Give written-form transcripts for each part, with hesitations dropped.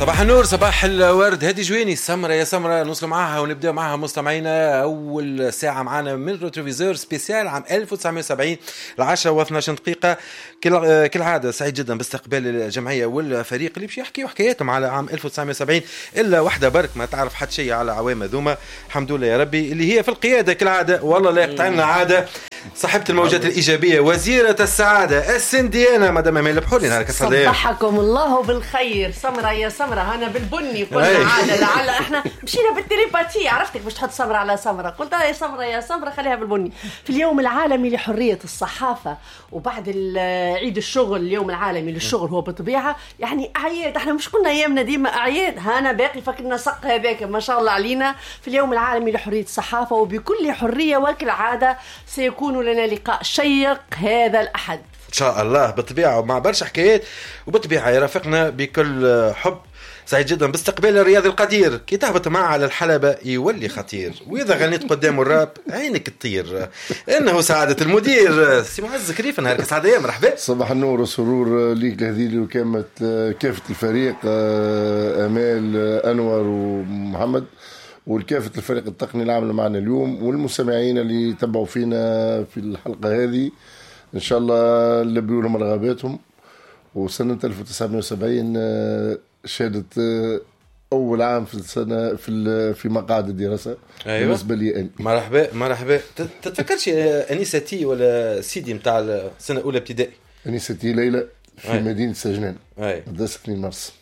صباح النور، صباح الورد. هادي جويني سمرة يا سمرة، نوصل معاها ونبدا معاها مستمعينا أول ساعة معانا من rétroviseur spécial عام 1970 10:12 دقيقة. كالعادة سعيد جدا باستقبال الجمعية والفريق اللي باش يحكيوا حكاياتهم على عام 1970، إلا واحدة برك ما تعرف حتى شيء على عوام ذوما، الحمد لله يا ربي، اللي هي في القيادة كالعادة، والله لا يقطع لنا عادة، صاحبة الموجات الإيجابية، وزيرة السعادة، السنديانة، مدام أمال البحوري. نهارك سعيد. صبحكم الله بالخير. سمرة يا سمرة، أنا بالبني قلنا عادة، لعل احنا مشينا بال télépathie، عرفتك باش تحط سمرة على سمرة، قلت يا سمرة يا سمرة خليها بالبني. في اليوم العالمي لحرية الصحافة وبعد عيد الشغل، اليوم العالمي للشغل هو بالطبيعة يعني أعياد، احنا مش قلنا أيامنا ديما أعياد، هانا باقي فكرنا سق هذاك ما شاء الله علينا. في اليوم العالمي لحرية الصحافة وبكل حرية وكالعادة سيكون لنا لقاء شيق هذا الأحد إن شاء الله، بالطبيعة مع برشا حكايات، وبالطبيعة يرافقنا بكل حب. سعيد جدا باستقبال الرياضي القدير، كي تهبط معه على الحلبة يولي خطير، وإذا غنيت قدامه الراب عينك تطير. إنه سعادة المدير سي معز كريف. نهارك سعادة، مرحبا. صباح النور والسرور ليك لهذه وكامة كافة الفريق، آمال، أنور ومحمد، والكافة الفريق التقني اللي عملوا معنا اليوم، والمستمعين اللي تبعوا فينا في الحلقة هذه. إن شاء الله نلبيوا لهم رغباتهم. وسنة 1970 شهدت أول عام في السنة في مقاعد الدراسة. أيوة. بالنسبة لي أنا. مرحبا مرحبا. تتفكرش أنيستي ولا سيدي متاع السنة الأولى ابتدائي؟ أنيستي ليلى في مدينة سجنان، مدرسة 2 مارس.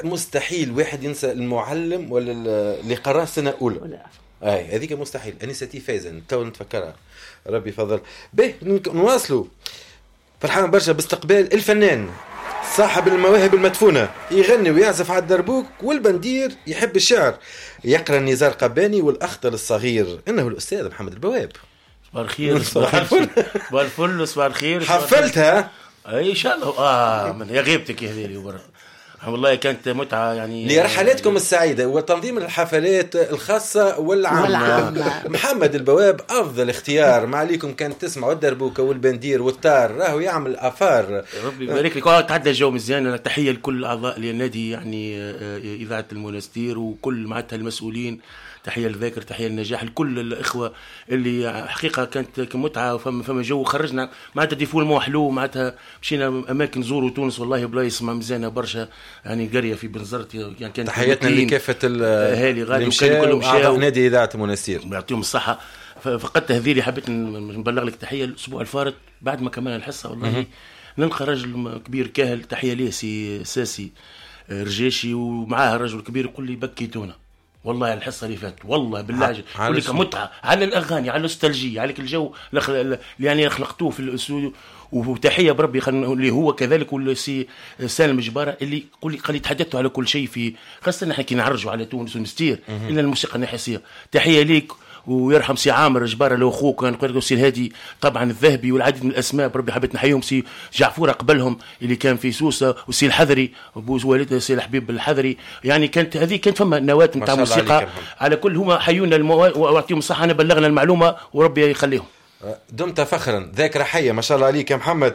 مستحيل واحد ينسى المعلم ولا اللي قراه السنة الأولى. أي هذيك مستحيل. أنيستي فايزة تو نتفكرها، ربي فضل به. نواصلوا. فرحان برشا باستقبال الفنان صاحب المواهب المدفونة، يغني ويعزف على الدربوك والبندير، يحب الشعر، يقرأ نزار قباني والأخطل الصغير، إنه الأستاذ محمد البواب. صباح الخير. صباح الفل. صباح الفل. صباح الخير. حفلتها اي ان شاء الله. من يا غيبتك يا هذيلي وبرا. والله كانت متعة يعني لرحلاتكم السعيدة وتنظيم الحفلات الخاصة والعامة. محمد البواب أفضل اختيار، ما عليكم كان تسمعوا الدربوكة والبندير والتار، راهو يعمل أفار. ربي يبارك لك. تعدى الجو مزيان. تحية لكل أعضاء النادي، يعني إذاعة المونستير وكل معناتها المسؤولين، تحية للذاكر، تحية للنجاح، لكل الإخوة اللي حقيقة كانت متعة. فما جو، خرجنا معناتها défoulement حلو، معناتها مشينا أماكن زوروا تونس والله بلايص ما مزيانة برشا، يعني قرية في بنزرت، يعني كانت تحياتنا لكافة الأهالي غادي وكانوا كلهم مشاو نادي إذاعة المونستير، يعطيهم الصحة. فقدت هذيلي، حبيت نبلغ لك تحية الأسبوع الفارط بعد ما كملنا الحصة والله نلقى رجل كبير كاهل، تحية ليه سي ساسي رجاشي، ومعاه رجل كبير يقول لي بكيتونا والله الحصة اللي فاتت، والله بالله يقول لك متعه على الاغاني، على النوستالجيه، على الجو اللي يعني خلقتوه في الاستوديو. وتحية بربي اللي هو كذلك والسي سالم جبارة اللي قال لي تحدثتوا على كل شيء، في خاصة نحن كي نعرجوا على تونس ونستير الا الموسيقى النحاسيه. تحية ليك ويرحم سي عامر جبارة لو اخوك، كان قال سي الهادي طبعا الذهبي والعديد من الاسماء، بربي حبيت نحييهم. سي جعفوره قبلهم اللي كان في سوسة، وسي الحذري بوز والده سي الحبيب الحذري، يعني كانت هذه كانت فما نواه نتاع موسيقى على كل. هما حيونا واعطيهم الصحة، انا بلغنا المعلومة وربي يخليهم. دمت فخرا، ذاكرة حية ما شاء الله عليك يا محمد.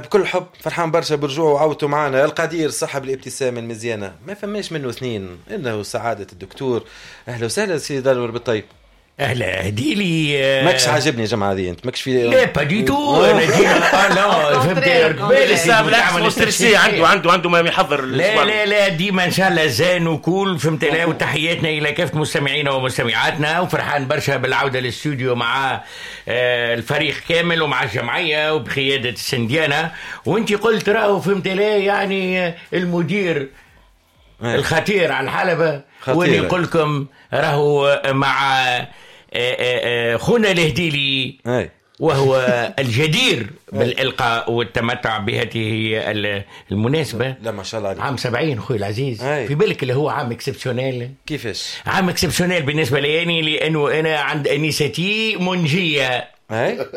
بكل حب فرحان برشا برجوع وعودته معنا القدير صاحب الابتسامة المزيانة، ما فماش منه اثنين، إنه سعادة الدكتور. أهلا وسهلا سيدي دالور بالطيب. اهلا هديلي. ماكش عاجبني يا جماعة هذه، انت ماكش في لا با دي تو. انا ديما لا فهمت بالعكس عنده ما يحضر. لا لا لا ديما ان شاء الله زين وكول فهمت. لا وتحياتنا الى كافة مستمعينا ومستمعاتنا، وفرحان برشا بالعودة للاستوديو مع الفريق كامل ومع الجمعية وبقياده السنديانه. وانت قلت راهو فهمت لا يعني المدير الخطير على الحلبة، واللي يقول لكم راهو مع خونا الهديلي وهو الجدير بالإلقاء والتمتع بهذه المناسبة. لا ما شاء الله عليك. عام 70 خوي العزيز. في بالك اللي هو عام exceptionnel. كيفاش؟ عام exceptionnel بالنسبة لي لأنه أنا عند أنيستي منجية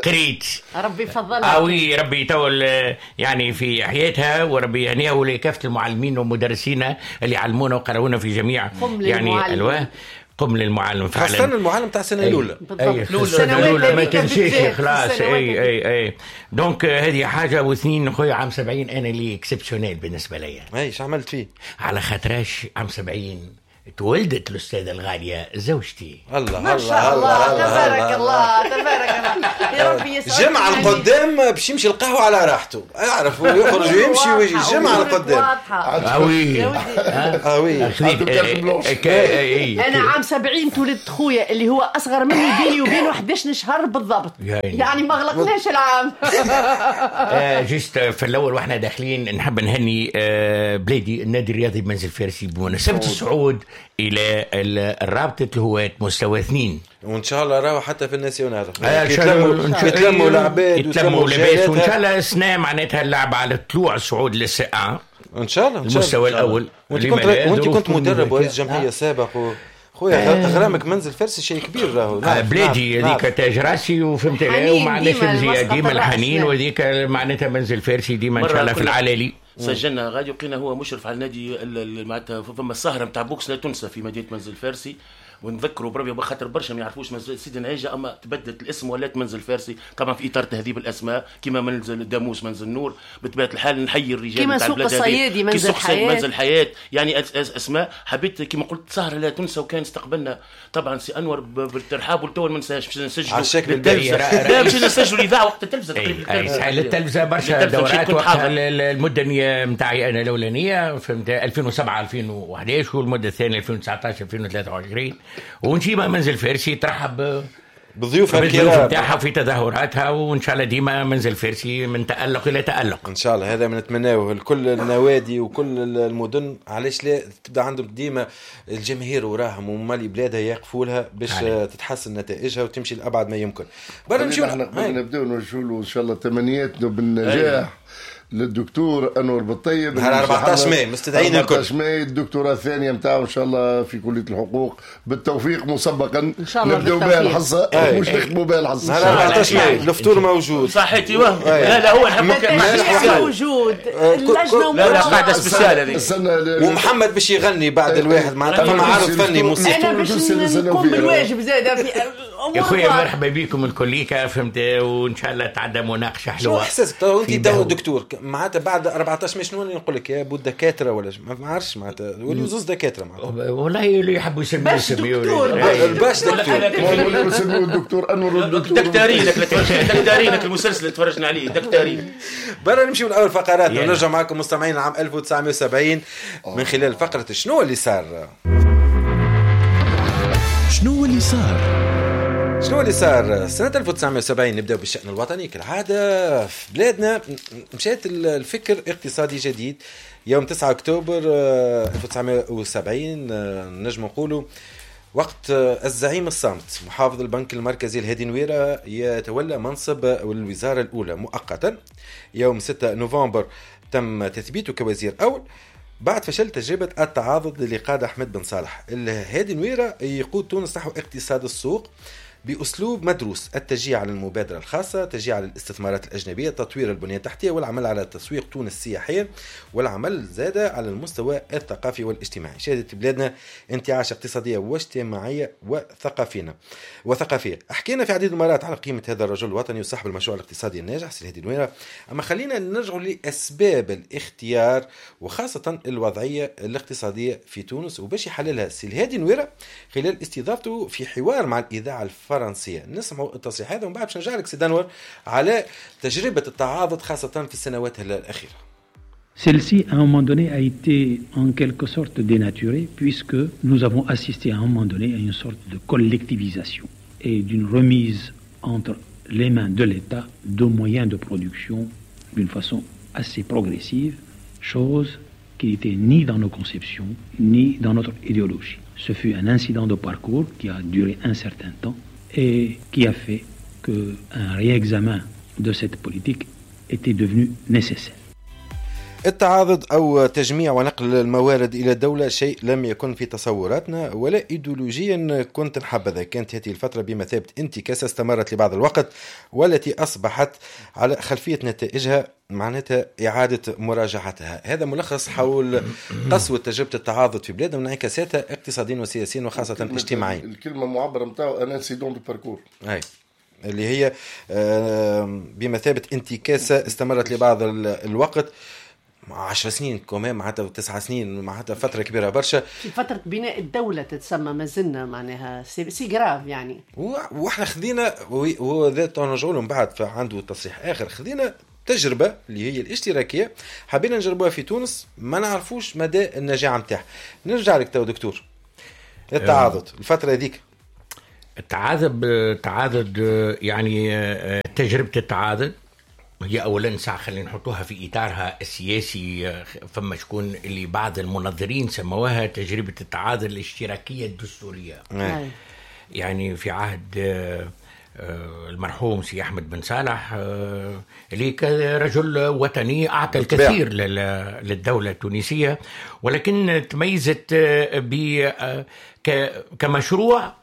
قريت ربي يفضلها oui ربي يطول يعني في حياتها وربي يهنيها ولكافة المعلمين ومدرسينا اللي علمونا وقرونا في جميع يعني الواه. قم للمعلم فعلا، خاصة المعلم تاع السنة الاولى. اي السنة الاولى ما تنسيش خلاص. اي donc هذه حاجة. واثنين خويا عام 70 انا اللي exceptionnel بالنسبة لي. اي ايش عملت فيه؟ على خاطرش عام 70 تولدت الأستاذة الغالية زوجتي. الله ما شاء الله، تبارك الله تبارك الله، يا ربي يسعدك. جمعة القدام باش يمشي القهوة على راحته، يعرف ويخرج ويمشي ويجي. جمعة القدام. ah oui ah oui. أنا عام 70 تولدت خويا اللي هو أصغر مني، بيني وبينه 11 شهر بالضبط، يعني ما غلقناش العام. juste في الأول واحنا داخلين نحب نهني بلادي النادي الرياضي بمنزل فارسي بمناسبة الصعود الى الرابطة الهواة مستوى 2، وان شاء الله راهو حتى في ال national يتلموا العباد يتلموا لاباس، وان شاء الله السنة معناتها اللعب على طلوع الصعود لل C 1 ان شاء الله المستوى الاول. وانت كنت مدرب ورئيس جمعية سابق خويا غرامك منزل فارسي شيء كبير راهو. بلادي هذيك تاج راسي وفهمت لا وما عندناش مزية ديما الحنين، وهذيك معناتها منزل فارسي ديما ان شاء الله في العلالي. سجلنا غادي وقينا هو مشرف على النادي معناتها فما السهرة نتاع boxe لا تنسى في مدينة منزل فارسي، ونذكروا بربي بخاطر برشا ما يعرفوش منزل سيدي نعيجه، اما تبدلت الاسم ولات منزل فارسي طبعا في اطار تهذيب الاسماء كما منزل داموس منزل نور. بطبيعة الحال نحيي الرجال كما سوق الصيادي منزل حياة، منزل حياة، يعني اسماء. حبيت كما قلت سهره لا تنسى، وكان استقبلنا طبعا سي انور بالترحاب، والتو ما ننساش باش نسجلوا لا باش نسجلوا الاذاعة وقت التلفزة تقريبا. التلفزة برشا دورات وقت المدة نتاعي انا الاولانية فهمت 2007 2011، والمدة الثانية 2019 2023. ونجيب منزل فارسي ترحب بالضيوف الكرام نتاعها في تظاهراتها، وان شاء الله ديما منزل فارسي من تألق الى تألق ان شاء الله. هذا ما نتمناه لكل النوادي وكل المدن، علاش لا تبدا عندهم ديما الجماهير وراهم ومالي بلادها يقفوا لها باش تتحسن نتائجها وتمشي لابعد ما يمكن. برا نمشيو نبداو نوجهوا له ان شاء الله تمنياتنا بالنجاح للدكتور انور بالطيب نهار 14 ماي، مستدعين الكل 14 ماي الدكتوراه الثانية نتاعو ان شاء الله في كليه الحقوق، بالتوفيق مسبقا. نبداو بها الحصة مش نختموا بها الحصة. نهار 14 ماي الفطور موجود صحيتي وهم. لا لا هو نحبك موجود اللجنة لا لا قاعدة spéciale هذه، ومحمد باش يغني بعد الواحد معناتها فما عرض فني موسيقي. انا باش نقوم بالواجب زاد في يا خويا. مرحبا بكم الكليكه فهمت، وان شاء الله تعدى مناقشة حلوة. شو احساسك انت دكتور معناتها بعد 14 ماي؟ شنو نقول لك يا بو الدكاترة ولا ما عرفش معناتها وليو زوز دكاترة معناتها والله اللي يحبوا يسميوا الباش دكتور يسميوا الدكتور انور الدكتور دكتارينك دكتارينك المسلسل اللي تفرجنا عليه دكتارين. برا نمشيو لاول فقرات ونرجع معكم مستمعين عام 1970 من خلال فقره شنو اللي صار. شنو اللي صار؟ شنو اللي صار سنة 1970؟ نبدأ بالشأن الوطني كالعادة. في بلادنا مشات الفكر اقتصادي جديد يوم 9 أكتوبر 1970، نجم نقولوا وقت الزعيم الصامت محافظ البنك المركزي الهادي نويرة يتولى منصب الوزارة الأولى مؤقتا. يوم 6 نوفمبر تم تثبيته كوزير أول بعد فشل تجربة التعاضد اللي قاد أحمد بن صالح. الهادي نويرة يقود تونس نحو اقتصاد السوق بأسلوب مدروس، التشجيع على المبادرة الخاصة، تشجيع على الاستثمارات الأجنبية، تطوير البنية التحتية، والعمل على تسويق تونس السياحية، والعمل زاد على المستوى الثقافي والاجتماعي. شهدت بلادنا انتعاش اقتصادية واجتماعية وثقافية. حكينا في عديد المرات على قيمة هذا الرجل الوطني وصاحب المشروع الاقتصادي الناجح سي الهادي نويرة، أما خلينا نرجع لأسباب الاختيار وخاصة الوضعية الاقتصادية في تونس، وباش يحللها سي الهادي نويرة خلال استضافته في حوار مع الإذاعة الفرنسية. نسمعوا التصريح هذا ومن بعد باش نرجع لك سي دانور على تجربة التعاضد خاصة في السنوات الأخيرة. Celle-ci, à un moment donné, a été en quelque sorte dénaturée puisque nous avons assisté à un moment donné à une sorte de collectivisation et d'une remise entre les mains de l'État de moyens de production d'une façon assez progressive, chose qui n'était ni dans nos conceptions, ni dans notre idéologie. Ce fut un incident de parcours qui a duré un certain temps et qui a fait qu'un réexamen de cette politique était devenu nécessaire. التعاضد أو تجميع ونقل الموارد إلى الدولة شيء لم يكن في تصوراتنا ولا إيديولوجيا كنت نحبذها. كانت هذه الفترة بمثابة انتكاسة استمرت لبعض الوقت، والتي أصبحت على خلفية نتائجها معناتها إعادة مراجعتها. هذا ملخص حول قسوة تجربة التعاضد في بلادنا وانعكاساتها اقتصاديا وسياسيا وخاصة اجتماعيا. الكلمة معبرة نتاعو un incident de parcours، أي اللي هي بمثابة انتكاسة استمرت لبعض الوقت، 10 سنين كمان، معناتها 9 سنين، معناتها فترة كبيرة برشا في فترة بناء الدولة تتسمى، ما زلنا معناها c'est grave يعني. واحنا خذينا، وهو ذات نرجعوا له من بعد فعنده تصريح اخر، خذينا تجربه اللي هي الاشتراكية حبينا نجربوها في تونس، ما نعرفوش مدى النجاعه نتاعها. نرجع لك تو دكتور، التعاضد الفترة هذيك، التعاضد يعني تجربه التعاضد هي أولا ساعة خلينا نحطوها في إطارها السياسي. فما شكون اللي بعض المنظرين سموها تجربة التعاضد الاشتراكية الدستورية. يعني في عهد المرحوم سي أحمد بن صالح اللي كرجل وطني أعطى الكثير للدولة التونسية، ولكن تميزت كمشروع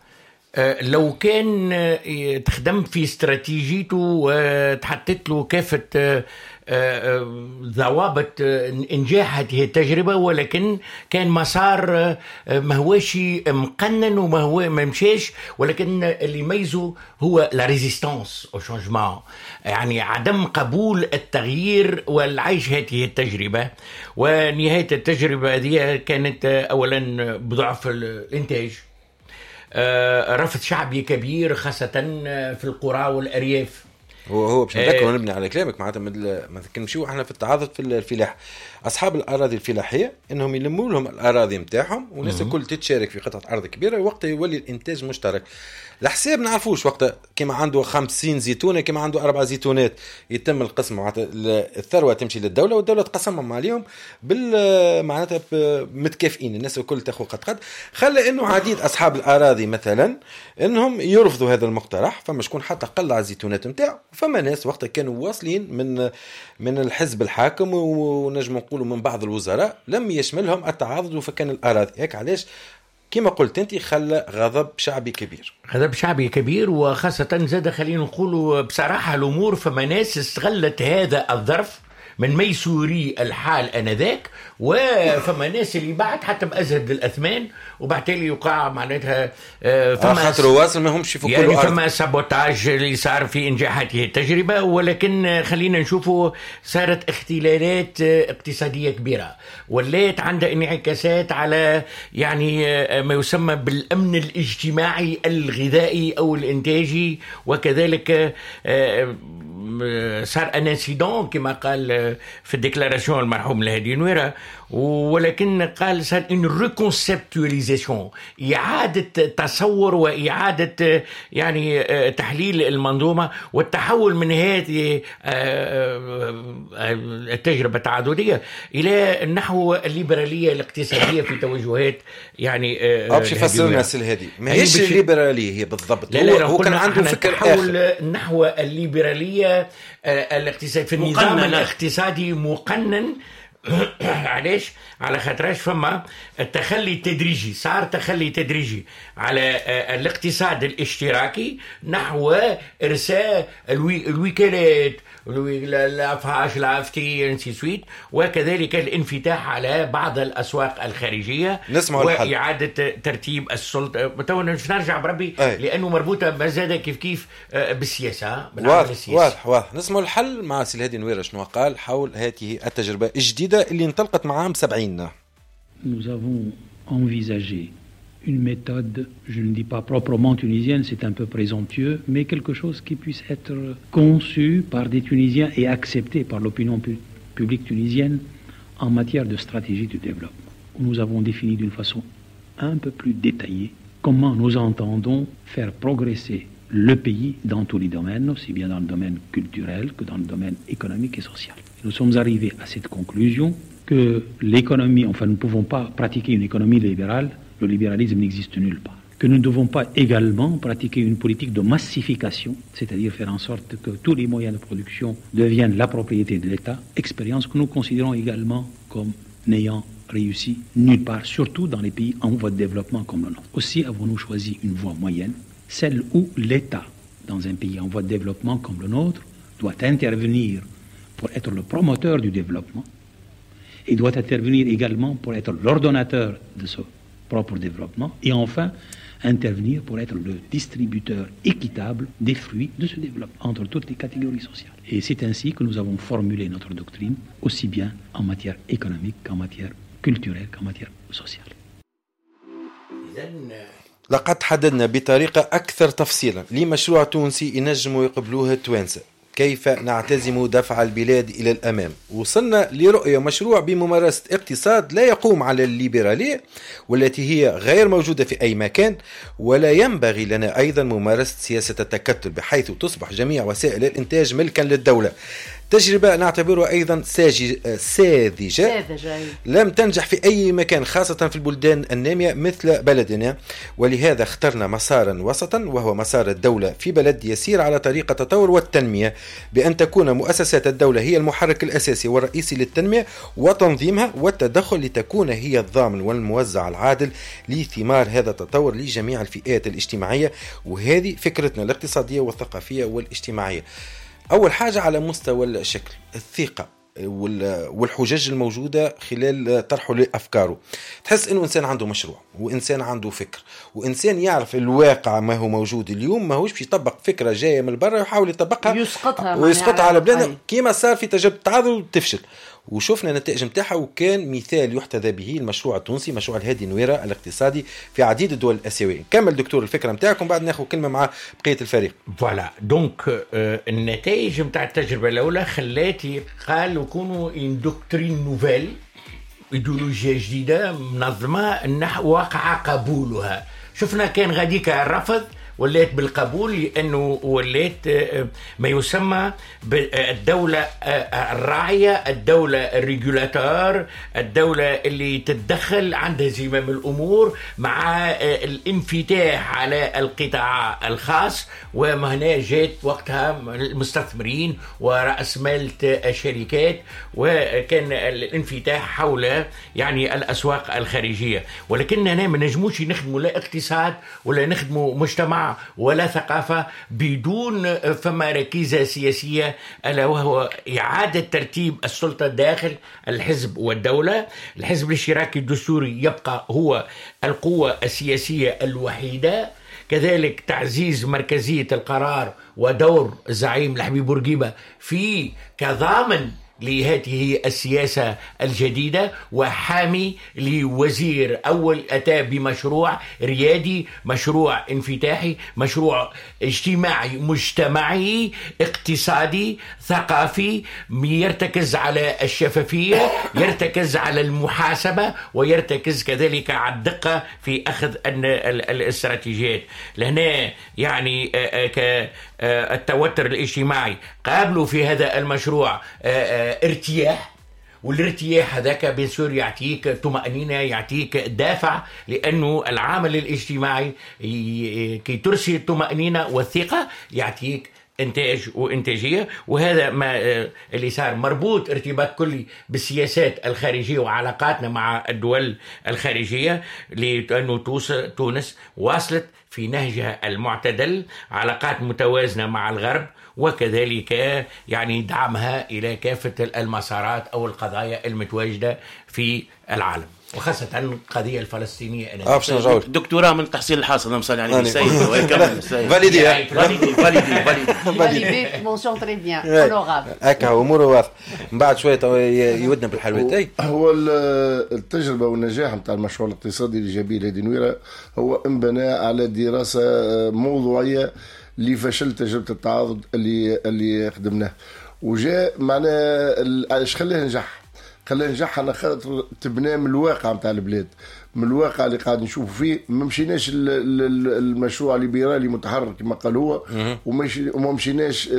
لو كان تخدم في استراتيجيته وتحطت له كافة ضوابط انجاح هذه التجربة، ولكن كان مسار ما هوش مقنن وما هو ما مشاش. ولكن اللي يميزه هو la résistance au changement، يعني عدم قبول التغيير والعيش هذه التجربة. ونهاية التجربة هذه كانت أولا بضعف الإنتاج، رفض شعبي كبير خاصة في القرى والأرياف. هو باش نذكر ونبني على كلامك، معناتها ما نمشيو احنا في التعاضد في الفلاح، اصحاب الاراضي الفلاحية انهم يلموا لهم الاراضي نتاعهم والناس الكل تتشارك في قطعه ارض كبيرة، وقتها يولي الانتاج مشترك. الحساب نعرفوش وقتها، كما عنده 50 زيتونه كما عنده 4 زيتونات، يتم القسم، معناتها الثروة تمشي للدولة والدولة تقسمهم عليهم بال معناتها متكافئين، الناس الكل تاخذ قد قد. خلى انه عديد اصحاب الاراضي مثلا انهم يرفضوا هذا المقترح، فما شكون حتى قلع الزيتونات نتاعو، فما ناس وقتها كانوا واصلين من الحزب الحاكم ونجم نقولوا من بعض الوزراء لم يشملهم التعاضد وفكان الاراضي. هيك علاش كما قلت انت خلى غضب شعبي كبير، غضب شعبي كبير، وخاصة زاد خلينا نقولوا بصراحة الأمور، فما ناس استغلت هذا الظرف من ميسوري الحال آنذاك، وفما ناس اللي بعت حتى بأزهد الأثمان، وبالتالي يقع معناتها فما خاطر واصل ما همش في يعني فما sabotage اللي صار في إنجاح هذه التجربة. ولكن خلينا نشوفوا صارت اختلالات اقتصادية كبيرة ولات عندها انعكاسات على يعني ما يسمى بالأمن الاجتماعي الغذائي أو الإنتاجي، وكذلك صار un incident كما قال في ال déclaration المرحوم الهادي نويرة، ولكن قال صار une reconceptualisation، إعادة تصور وإعادة يعني تحليل المنظومة والتحول من هذه التجربة التعاضدية إلى نحو الليبرالية الاقتصادية في توجهات يعني باش يفسر لنا الهادي ما هيش الليبرالية هي بالضبط. لا لا، هو كان عنده فكر آخر نحو الليبرالية الاقتصادية في النظام الاقتصادي مقنن. علاش؟ على خاطرش فما التخلي التدريجي، صار تخلي تدريجي على الاقتصاد الاشتراكي نحو ارساء الوكالات الافهاش الافتي ainsi de suite، وكذلك الانفتاح على بعض الاسواق الخارجية واعاده ترتيب السلطة. تو نرجع بربي لانه مربوطة ما زاد كيف كيف بالسياسة، بالعمل السياسي. واضح واضح. نسمع الحل مع سي الهادي نويره شنو قال حول هذه التجربة الجديدة اللي انطلقت مع عام 70. Nous avons envisagé une méthode, je ne dis pas proprement tunisienne, c'est un peu présomptueux, mais quelque chose qui puisse être conçu par des Tunisiens et accepté par l'opinion publique tunisienne en matière de stratégie de développement. Nous avons défini d'une façon un peu plus détaillée comment nous entendons faire progresser le pays dans tous les domaines, aussi bien dans le domaine culturel que dans le domaine économique et social. Nous sommes arrivés à cette conclusion que l'économie, enfin nous ne pouvons pas pratiquer une économie libérale, le libéralisme n'existe nulle part. Que nous ne devons pas également pratiquer une politique de massification, c'est-à-dire faire en sorte que tous les moyens de production deviennent la propriété de l'État, expérience que nous considérons également comme n'ayant réussi nulle part, surtout dans les pays en voie de développement comme le nôtre. Aussi avons-nous choisi une voie moyenne, celle où l'État, dans un pays en voie de développement comme le nôtre, doit intervenir pour être le promoteur du développement et doit intervenir également pour être l'ordonnateur de ce propre développement et enfin intervenir pour être le distributeur équitable des fruits de ce développement entre toutes les catégories sociales. Et c'est ainsi que nous avons formulé notre doctrine, aussi bien en matière économique qu'en matière culturelle qu'en matière sociale. لقد حددنا بطريقة أكثر تفصيلا لمشروع تونسي ينجموا يقبلوه التوانسة، كيف نعتزم دفع البلاد إلى الأمام. وصلنا لرؤية مشروع بممارسة اقتصاد لا يقوم على الليبرالية والتي هي غير موجودة في أي مكان، ولا ينبغي لنا أيضا ممارسة سياسة التكتل بحيث تصبح جميع وسائل الإنتاج ملكا للدولة. تجربة نعتبرها أيضا ساذجة لم تنجح في أي مكان، خاصة في البلدان النامية مثل بلدنا، ولهذا اخترنا مسارا وسطا وهو مسار الدولة في بلد يسير على طريق التطور والتنمية، بأن تكون مؤسسات الدولة هي المحرك الأساسي والرئيسي للتنمية وتنظيمها والتدخل، لتكون هي الضامن والموزع العادل لثمار هذا التطور لجميع الفئات الاجتماعية. وهذه فكرتنا الاقتصادية والثقافية والاجتماعية. أول حاجة على مستوى الشكل، الثقة والحجج الموجودة خلال طرحه لأفكاره. تحس إنه إنسان عنده مشروع، وإنسان عنده فكر، وإنسان يعرف الواقع ما هو موجود اليوم، ما هوش باش يطبق فكرة جاية من برا ويحاول يطبقها ويسقطها على بلادنا كما صار في تجربة التعاضد وتفشل، وشفنا النتائج نتاعها. وكان مثال يحتذى به المشروع التونسي، مشروع الهادي نويرة الاقتصادي في عديد الدول الآسيوية. كمل دكتور الفكرة نتاعكم، بعد ناخذ كلمة مع بقية الفريق. voilà donc النتائج نتاع التجربة الأولى خلات قالوا يكونوا une doctrine nouvelle، ايديولوجيا جديدة منظمة وقع قبولها. شفنا كان غاديك الرفض ولات بالقبول، لأنه ولات ما يسمى بالدولة الراعية، الدولة ال régulateur، الدولة اللي تتدخل عندها زمام الأمور مع الانفتاح على القطاع الخاص. وما هنا جات وقتها المستثمرين ورأس مال الشركات، وكان الانفتاح حول يعني الأسواق الخارجية. ولكننا ما نجموش نخدموا لا اقتصاد ولا نخدموا مجتمع ولا ثقافة بدون فما ركيزة سياسية، ألا وهو إعادة ترتيب السلطة داخل الحزب والدولة. الحزب الاشتراكي الدستوري يبقى هو القوة السياسية الوحيدة. كذلك تعزيز مركزية القرار ودور الزعيم الحبيب بورقيبة في كضامن لهذه السياسة الجديدة، وحامي لوزير أول أتى بمشروع ريادي، مشروع انفتاحي، مشروع اجتماعي مجتمعي اقتصادي ثقافي، يرتكز على الشفافية، يرتكز على المحاسبة، ويرتكز كذلك على الدقة في أخذ الاستراتيجيات. لهنا يعني التوتر الاجتماعي قابلوا في هذا المشروع ارتياح، والارتياح هذاك bien sûr يعطيك طمأنينة، يعطيك دافع، لأنه العامل الاجتماعي كي ترسي الطمأنينة والثقة يعطيك إنتاج وإنتاجية. وهذا ما اللي صار مربوط ارتباط كلي بالسياسات الخارجية وعلاقاتنا مع الدول الخارجية، لأنه تونس واصلت في نهجها المعتدل، علاقات متوازنة مع الغرب، وكذلك يعني دعمها إلى كافة المسارات أو القضايا المتواجدة في العالم، وخاصة القضية الفلسطينية. دكتوراه من تحصيل الحاصل، أنا مصلي على السيد ويكمل السيد. validé validé validé mention très bien honorable. هكا أموره واضحة. من بعد شوية يودنا بالحلويات. هو التجربة والنجاح نتاع المشروع الاقتصادي اللي جابيه الهادي نويرة هو انبنى على دراسة موضوعية اللي فشل تجربة التعاضد اللي خدمناه، وجاء معناه ايش خلاه نجح. خلاه نجح على خاطر تبناه من الواقع نتاع البلاد، من الواقع اللي قاعد نشوفوا فيه. ما مشيناش المشروع الليبرالي متحرر كما قال هو، وما مشيناش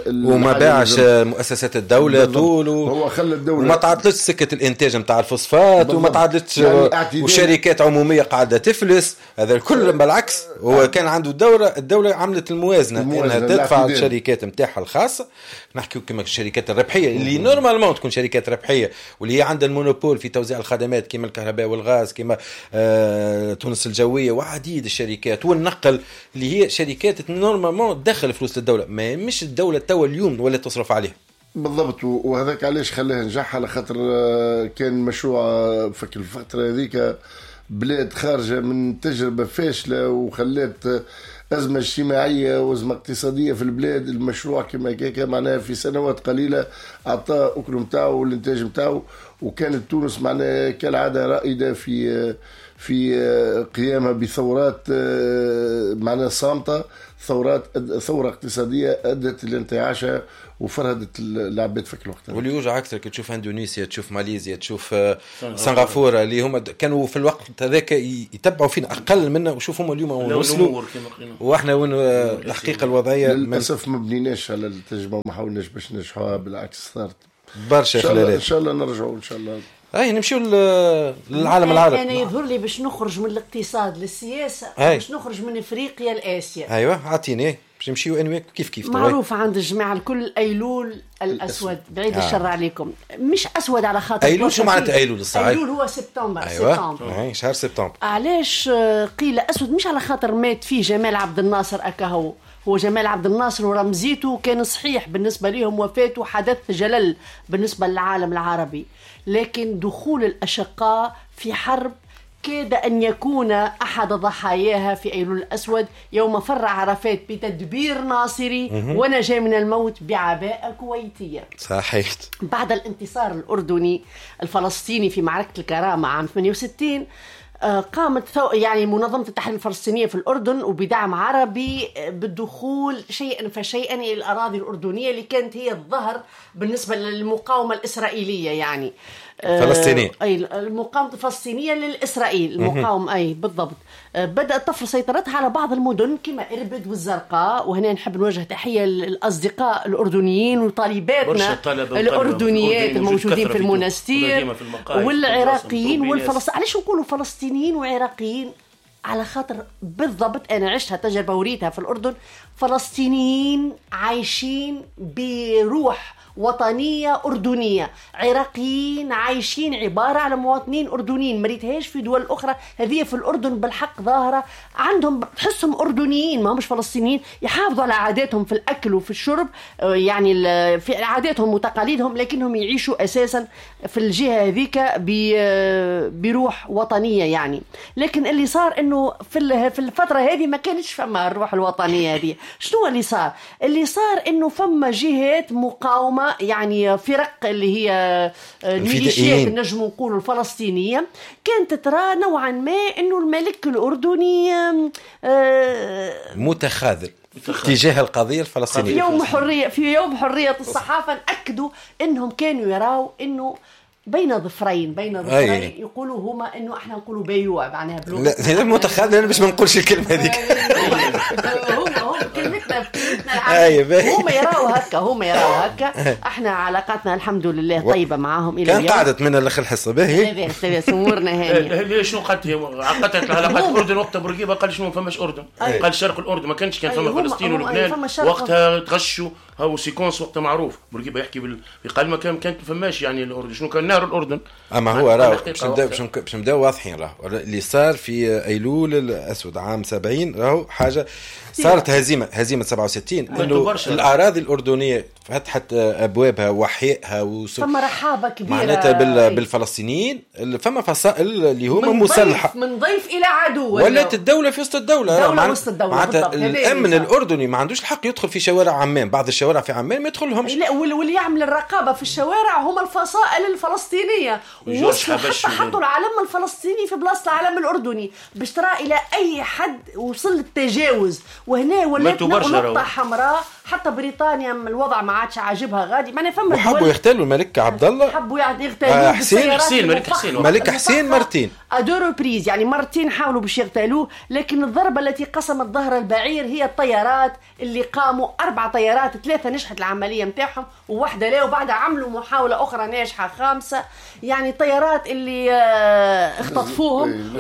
وما باعش مؤسسات الدولة طول، هو خلى الدولة وما تعطلتش سكة الانتاج نتاع الفوسفات، وما تعطلتش يعني وشركات عموميه قاعدة تفلس. هذا الكل بالعكس هو كان عنده الدولة عملت الموازنة انها تدفع الشركات نتاعها الخاصة. نحكيو كما الشركات الربحية اللي normalement تكون شركات ربحية واللي هي عندها ال monopole في توزيع الخدمات كما الكهرباء والغاز، كما تونس الجوية وعديد الشركات والنقل، اللي هي شركات normalement تدخل فلوس للدولة، ما مش الدولة توا اليوم ولا تصرف عليها. بالضبط، وهذاك علاش خلاه نجح، على خاطر كان مشروع في الفترة هذيك بلاد خارجه من تجربه فاشلة وخلات أزمة اجتماعية وأزمة اقتصادية في البلاد. المشروع كما كيكا معناها في سنوات قليلة أعطاه أكل متاعه والإنتاج متاعه، وكانت تونس معناها كالعادة رائدة في قيامها بثورات معناها صامتة، ثورة اقتصادية أدت لانتعاشها وفرهدت العباد في الوقت. واللي يوجع أكثر كي تشوف اندونيسيا، تشوف ماليزيا، تشوف سنغافورة، اللي هما كانوا في الوقت هذاك يتبعوا فينا أقل منا، وشوف هما اليوم وصلوا وإحنا وين الحقيقة الوضعية. للأسف ما بنيناش على التجربة وما حاولناش باش ننجحوها، بالعكس صارت برشا خلالات. إن شاء الله نرجعوا إن شاء الله. اي نمشيو للعالم العربي. انا يظهر لي باش نخرج من الاقتصاد للسياسة، باش نخرج من افريقيا لاسيا. ايوه اعطيني باش نمشيو انويك كيف كيف. معروف عند الجماعة الكل ايلول الاسود، بعيد الشر عليكم، مش اسود على خاطر ايلول. شو معناتها ايلول الصحيح؟ ايلول هو سبتمبر. أيوة. سبتمبر، شهر سبتمبر. علاش قيل اسود؟ مش على خاطر مات فيه جمال عبد الناصر اكاهو، هو جمال عبد الناصر ورمزيته كان صحيح بالنسبة لهم، وفاته حدث جلل بالنسبة للعالم العربي، لكن دخول الأشقاء في حرب كاد أن يكون أحد ضحاياها في أيلول الأسود، يوم فر عرفات بتدبير ناصري ونجا من الموت بعباءة كويتية. صحيح. بعد الانتصار الأردني الفلسطيني في معركة الكرامة عام 68، قامت يعني منظمة التحرير الفلسطينية في الأردن وبدعم عربي بالدخول شيئا فشيئا إلى الأراضي الأردنية اللي كانت هي الظهر بالنسبة للمقاومة الإسرائيلية، يعني فلسطينية، أي المقاومة الفلسطينية للإسرائيل، المقاومة أي بالضبط. بدأت تفرض سيطرتها على بعض المدن كما إربد والزرقاء، وهنا نحب نوجه تحية للأصدقاء الأردنيين وطالباتنا الأردنيات الموجودين في المنستير والعراقيين والفلسطينيين. علاش نقولوا فلسطينيين وعراقيين؟ على خاطر بالضبط أنا عشتها تجربة وريتها في الأردن، فلسطينيين عايشين بروح وطنية أردنية، عراقيين عايشين عبارة على مواطنين أردنيين، ما ريتهاش في دول أخرى. هذه في الأردن بالحق ظاهرة عندهم، تحسهم أردنيين ما همش فلسطينيين، يحافظوا على عاداتهم في الأكل وفي الشرب، يعني في عاداتهم وتقاليدهم، لكنهم يعيشوا أساسا في الجهة هذيك بروح وطنية يعني. لكن اللي صار إنه في الفترة هذه ما كانش فما الروح الوطنية هذه. شنو اللي صار؟ اللي صار إنه فما جهات مقاومة، يعني فرق اللي هي الميليشيات نجم نقولوا الفلسطينية، كانت ترى نوعا ما انه الملك الأردني متخاذل تجاه القضية الفلسطينية. في يوم حرية الصحافة أكدوا انهم كانوا يراوا انه بين ظفرين يقولوا هما انه احنا نقولوا بيوع، معناها بلغة لا متخاذل، انا باش ما نقولش الكلمة هذيك. هم كلمتنا هم يراو هكا، هم يراو هكا. احنا علاقاتنا الحمد لله طيبة معاهم الى اليوم. كان قعدت من الاخر الحصة باهي لاباس، امورنا هانيه. ليش شنو قالت هي؟ عقدت العلاقات الاردن وقتها بورقيبة قال شنو ما فماش اردن، قال شرق الاردن ما كانش، كان فما فلسطين ولبنان وقتها تغشوا، هاو séquence وقتها معروف بورقيبة يحكي قال ما كانت فماش يعني الاردن، شنو كان نهر الاردن. اما هو راه باش نبداو واضحين، راه اللي صار في ايلول الاسود عام 70 راهو حاجة صارت هزيمة 67، انه الاراضي الاردنية فتحت ابوابها وحيائها فما رحابه كبيرة معناتها بالفلسطينيين. فما فصائل اللي هما مسلحة من ضيف الى عدو، ولات الدولة في وسط الدولة، دولة وسط الدولة. معناتها الامن الاردني ما عندوش الحق يدخل في شوارع عمان، بعض الشوارع في عمان ما يدخلهمش. لا، واللي يعمل الرقابة في الشوارع هما الفصائل الفلسطينية، وصلوا حتى حطوا العلم الفلسطيني في بلاصة العلم الاردني باش ترى الى اي حد وصل التجاوز. وهنا ولات نقطة حمراء حتى بريطانيا الوضع ما عادش عاجبها غادي، معناها فما وحبوا يغتالوا الملك عبد الله، حبوا يغتالوه حسين الملك حسين، الملك حسين مرتين à deux reprises، يعني مرتين حاولوا باش يغتالوه، لكن الضربة التي قسمت ظهر البعير هي الطيارات اللي قاموا 4 طيارات، 3 نجحت العملية نتاعهم وواحدة لا، وبعدها عملوا محاولة اخرى ناجحة 5، يعني طيارات اللي اختطفوهم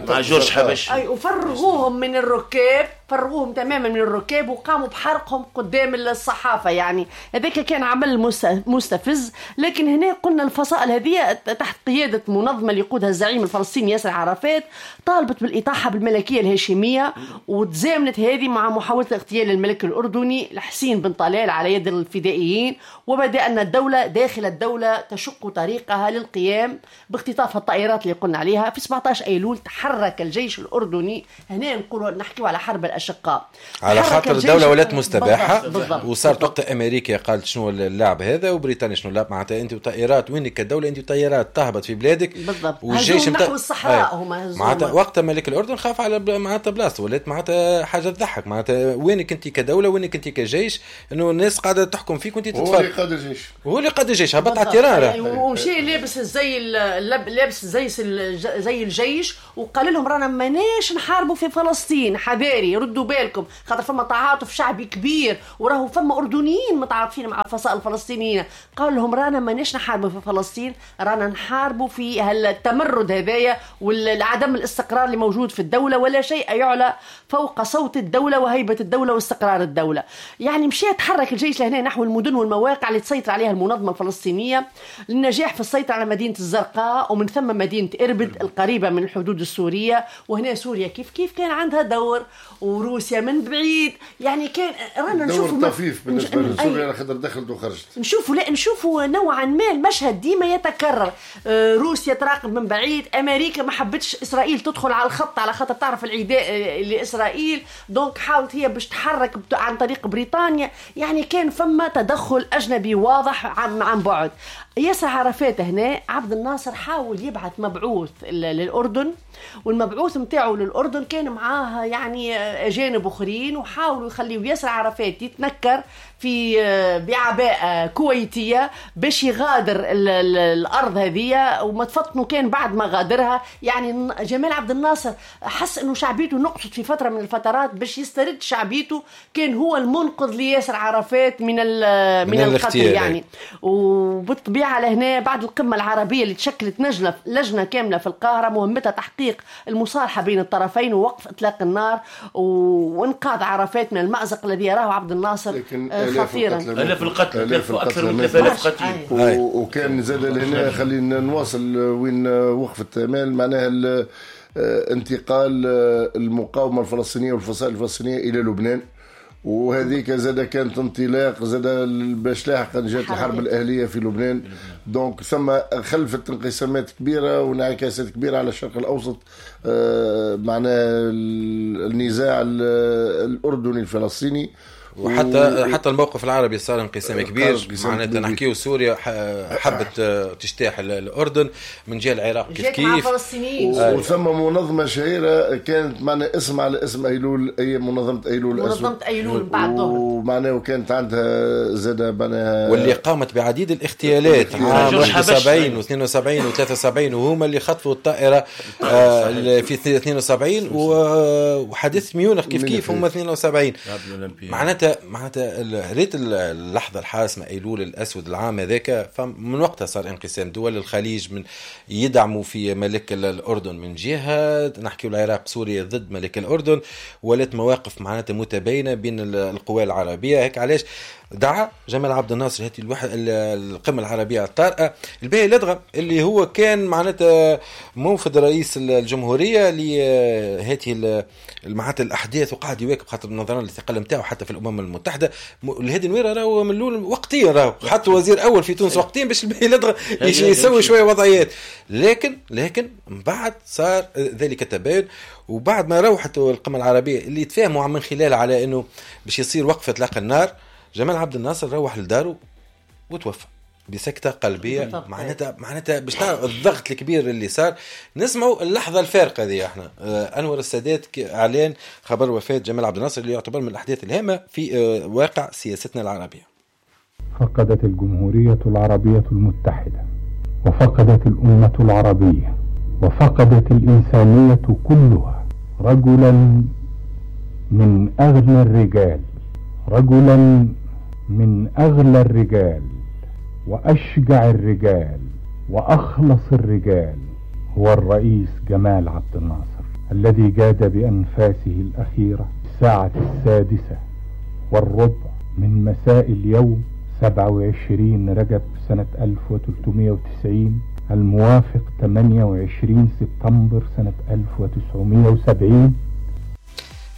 مع جورج حبش، اي وفرغوهم من الركاب، فرغوهم تماما من الركاب وقاموا بحرقهم قدام الصحافة. يعني هذاك كان عمل مستفز. لكن هنا قلنا الفصائل هذه تحت قيادة منظمة اللي يقودها الزعيم الفلسطيني ياسر عرفات طالبت بالإطاحة بالملكية الهاشمية، وتزامنت هذه مع محاولة اغتيال الملك الأردني الحسين بن طلال على يد الفدائيين، وبدأ أن الدولة داخل الدولة تشق طريقها للقيام باختطاف الطائرات اللي قلنا عليها. في 17 أيلول تحرك الجيش الأردني، هنا نقولوا نحكيو على حرب الأشقاء، على خاطر الدولة ولات مستباحة، وصارت وقت أمريكا قالت شنو اللعب هذا وبريطانيا شنو اللعب، معناتها أنت وطائرات وينك كدولة، أنت وطائرات تهبط في بلادك بالضبط، والجيش نحو الصحراء هما معناتها وقت ملك الأردن خاف على معناتها بلاصته، ولات معناتها حاجة تضحك، معناتها وينك أنت كدولة وينك أنت كجيش، إنه الناس قاعدة تحكم فيك وأنت تتفرج. هو اللي قاد الجيش، هو اللي قاد الجيش، هبط على ال terrain ومشي لابس زي لابس زي الجيش، وقال لهم رانا ماناش نحاربوا في فلسطين، حذاري ردوا بالكم، خاطر فما تعاطف شعبي كبير وراهو فما أردنيين متعاطفين مع الفصائل الفلسطينيين. قال لهم رانا ماناش نحاربوا في فلسطين، رانا نحاربوا في هالتمرد هذايا والعدم الاستقرار اللي موجود في الدولة، ولا شيء يعلى فوق صوت الدولة وهيبة الدولة واستقرار الدولة. يعني مشى تحرك الجيش لهنا نحو المدن والمواقع اللي تسيطر عليها المنظمة الفلسطينية للنجاح في السيطرة على مدينة الزرقاء ومن ثم مدينة إربد القريبة من الحدود السورية. وهنا سوريا كيف كيف كان عندها دور، وروسيا من بعيد، يعني كان رانا نشوفوا دور طفيف بالنسبة لسوريا على خاطر دخلت وخرجت. نشوفوا لا نشوفوا نوعا ما المشهد ديما يتكرر، روسيا تراقب من بعيد، أمريكا ما حبتش إسرائيل تدخل على الخط على خاطر تعرف العداء لإسرائيل، donc حاولت هي باش تحرك عن طريق بريطانيا. يعني كان فما تدخل أجنبي واضح عن بعد. ياسر عرفات هنا عبد الناصر حاول يبعث مبعوث للأردن، والمبعوث متاعه للأردن كان معاه يعني أجانب أخرين، وحاولوا يخليوا ياسر عرفات يتنكر في بعباءة كويتية باش يغادر الأرض هذه، وما تفطنوا كان بعد ما غادرها. يعني جمال عبد الناصر حس أنه شعبيته نقصت في فترة من الفترات، باش يسترد شعبيته كان هو المنقذ لياسر عرفات من القتل يعني. وبالطبيعة لهنا بعد القمة العربية اللي تشكلت لجنة كاملة في القاهرة مهمتها تحقيق المصالحة بين الطرفين ووقف إطلاق النار وإنقاذ عرفات من المأزق الذي يراه عبد الناصر خطيرا. آلاف القتل، أكثر من 3000 قتيل. وكان زاد لهنا خلينا نواصل وين وقفت أمال، معناها انتقال المقاومة الفلسطينية والفصائل الفلسطينية إلى لبنان، وهذيك زاد كانت انطلاق زاد باش لاحقا جات الحرب الأهلية في لبنان. donc ثم خلفت انقسامات كبيرة وانعكاسات كبيرة على الشرق الأوسط، معناها النزاع الأردني الفلسطيني، وحتى حتى الموقف العربي صار انقسام كبير. معناتها نحكيو سوريا حبت تجتاح الاردن، من جهة العراق كيف كيف وثم منظمة شهيرة كانت معنا اسم على اسم ايلول، اي منظمة ايلول الاسود، منظمة ايلول بعد ظهر، ومعناه وكانت عندها زاد معناها واللي قامت بعديد الاغتيالات عام 71 و72 و73، وهما اللي خطفوا الطائرة في 72، وحادث ميونخ كيف كيف هم 72. معناتها ريت اللحظة الحاسمة أيلول الأسود العام هذاك، فمن وقتها صار انقسام دول الخليج من يدعموا في ملك الأردن من جهة، نحكي العراق سوريا ضد ملك الأردن، ولات مواقف معناتها متباينة بين القوى العربية. هيك علاش دعا جمال عبد الناصر هذه القمة العربية الطارئة الباهي لدغة اللي هو كان معناتها موفد رئيس الجمهورية لهذه معناتها الأحداث، وقعد يواكب خاطر نظرا للثقل نتاعو حتى في الأمم المتحدة. الهادي نويرة راهو من الأول وقتيا، راهو حتى وزير أول في تونس وقتيا باش الباهي لدغة يسوي شوية وضعيات، لكن من بعد صار ذلك التباين. وبعد ما روحت القمة العربية اللي تفاهموا من خلالها على أنه باش يصير وقفة إطلاق النار، جمال عبد الناصر روح لداره وتوفى. بسكتة قلبية. معناتها باش تعرف الضغط الكبير اللي صار. نسمعوا اللحظة الفارقة ذي احنا، أنور السادات إعلان خبر وفاة جمال عبد الناصر اللي يعتبر من الأحداث الهامة في واقع سياستنا العربية. فقدت الجمهورية العربية المتحدة، وفقدت الأمة العربية، وفقدت الإنسانية كلها رجلا من أغنى الرجال، رجلا من أغلى الرجال وأشجع الرجال وأخلص الرجال، هو الرئيس جمال عبد الناصر الذي جاد بأنفاسه الأخيرة الساعة 6:15 من مساء اليوم 27 رجب سنة 1390 الموافق 28 سبتمبر سنة 1970.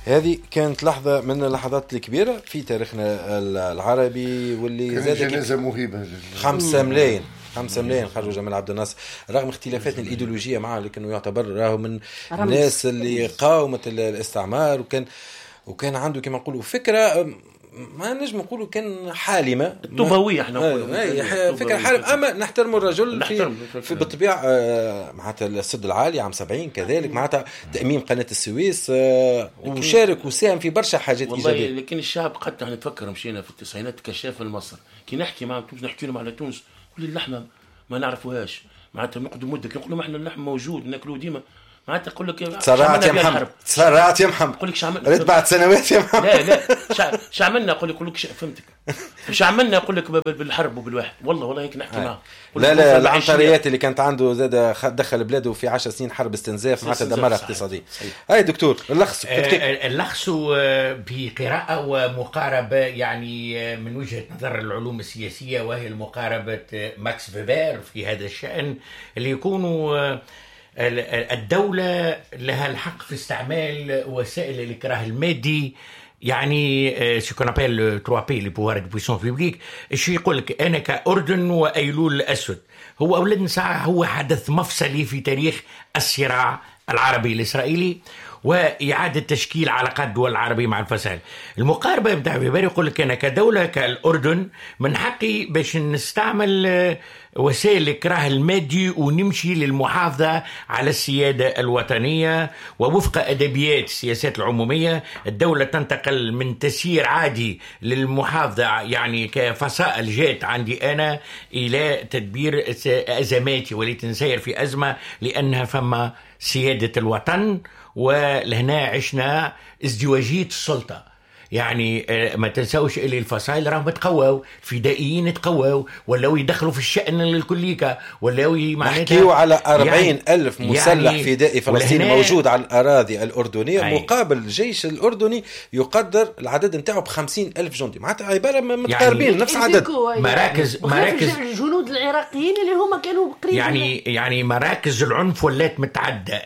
هذه كانت لحظة من اللحظات الكبيرة في تاريخنا العربي، واللي زاد جنازة مهيبة. 5 ملايين 5 ملايين خرجوا جمال عبد الناصر رغم اختلافاتنا الإيديولوجية معه، لكنه يعتبر راهو من الناس اللي قاومت الاستعمار، وكان عنده كما نقولوا فكرة، ما نجم نقولوا كان حالمة الطوباوية، احنا نقولوا فكرة حالمة، اما نحترموا الرجل في بالطبيعة. معناتها السد العالي عام 70 كذلك، معناتها تأميم قناة السويس، وشارك وساهم في برشا حاجات إيجابية. لكن الشعب قد نتفكر مشينا في التسعينات كشاف لمصر، كي نحكي مع تونس نحكي لهم على تونس كل اللحمة ما نعرفوهاش، معناتها نقعدوا مدة كي نقول لهم احنا اللحم موجود ناكلوه ديما، معناتها تقول لك تسرعت يا محمد، تسرعت يا محمد، نقول لك شعملنا ريت بعد سنوات يا محمد. لا لا شعملنا، نقول لك فهمتك شعملنا، نقول لك بالحرب وبالواحد، والله هيك نحكي معاه. لا لا العنتريات اللي كانت عنده زاد دخل بلاده في 10 سنين حرب استنزاف، معناتها دمرها اقتصاديا. هاي دكتور اللخص اللخص بقراءة ومقاربة يعني من وجهة نظر العلوم السياسية، وهي المقاربة ماكس فيبر في هذا الشأن، اللي يكونوا الدولة لها الحق في استعمال وسائل الإكراه المادي، يعني ce qu'on appelle 3 P les pouvoirs de puissance publique. الشيء يقول لك أنا كأردن وأيلول الأسود، هو أولاد ساعة هو حدث مفصلي في تاريخ الصراع العربي الإسرائيلي وإعادة تشكيل علاقات الدول العربية مع الفصائل. المقاربة بتاع فيبر يقول لك أنا كدولة كالأردن من حقي باش نستعمل وسائل الإكراه المادي ونمشي للمحافظة على السيادة الوطنية، ووفق أدبيات السياسات العمومية الدولة تنتقل من تسيير عادي للمحافظة يعني كفصائل جات عندي أنا إلى تدبير أزماتي، وليت نسير في أزمة لأنها فما سيادة الوطن. ولهنا عشنا ازدواجية السلطة، يعني ما تنسوش اللي الفصائل راهم تقواو، الفدائيين تقواو، ولاو يدخلوا في الشأن الكليكا، ولاو معناتها نحكيو على 40,000 مسلح يعني فدائي فلسطيني موجود على الأراضي الأردنية، مقابل الجيش الأردني يقدر العدد نتاعو ب50,000 جندي، معناتها عبارة متقاربين يعني نفس العدد. مراكز الجنود العراقيين اللي هما كانوا قريبين يعني مراكز العنف ولات متعدة،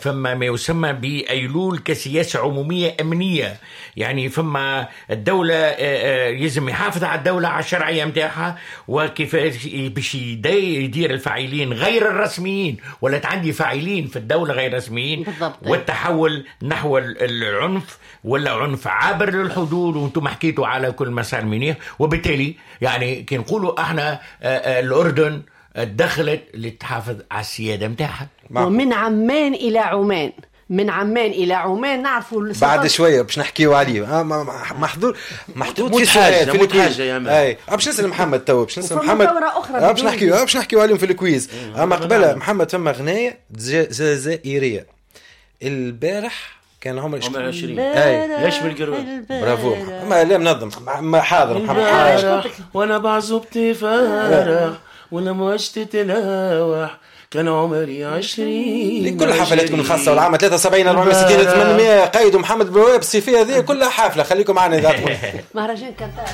فما ما يسمى بأيلول كسياسة عمومية أمنية، يعني فما الدولة يلزم يحافظ على الدولة على الشرعية متاعها، وكيف باش يدير الفاعلين غير الرسميين، ولا عندي فاعلين في الدولة غير رسميين بالضبط. والتحول نحو العنف ولا عنف عابر للحدود، وانتم حكيتوا على كل مسار منيح. وبالتالي يعني كي نقولوا احنا الأردن دخلت لتحافظ على السيادة متاعها. ومن عمان إلى عمان، من عمان إلى عمان نعرفوا بعد شوية باش نحكيو عليه. محظور محطوط في سؤال في ال quiz. اي باش نسال محمد تو، باش نسال محمد باش نحكيو عليهم في ال quiz. اما قبل محمد فما غنايه جزائرية البارح كان عمري 20. اي بالقروان. برافو ما لا منظم ما حاضر محمد حاضر. وانا بعزبتي فرح ولا موجتي تلاوح كان عمري 20. لكل حفلاتكم الخاصة والعامة 73 460 800 قيدوا محمد بواب الصيفية هذه كلها حافلة. خليكم معنا إذا مهرجان كنتاش.